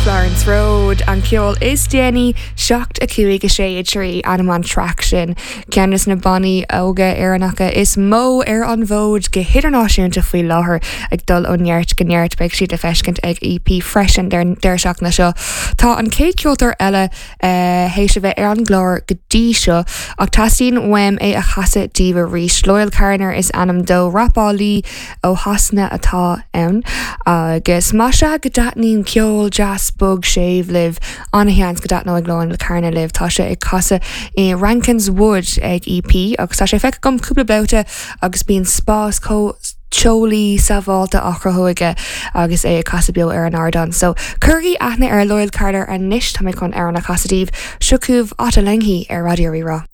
Florence Road, an ceol is déanaí, 7, 5, 6, 3, ainm an traic sin. Ceann de na bannaí óga Éireannacha is mó ar an bhfód go hidirnáisiúnta faoi láthair, ag dul ó neart go neart. Beidh siad le feiscint ag EP freisin an deireadh seachtaine seo. Tá an chéad cheoltóir eile théis a bheith ar an gclár go dtí seo, ach teastaíonn uaim é a chasadh daoibh arís. Loyle Carner is ainm dó, rapálaí ó Shasana atá ann, agus más ea go dtaitníonn ceol deas bog séimh libh, an-sheans go dtaitneoidh Loyle Carner libh. Tá sé ag casadh i Rankine's Wood ag EP agus tá sé feicthe agam cúpla babhta agus bíonn spás chomh teolaí sábháilte á chruthú aige agus é ag casadh beo ar an ardán. So, cuirigí aithne ar Loyle Carner anois, tá mé chun amhrán a chasadh daoibh. Seo chugaibh Ottolenghi ar Raidió Rí-Rá.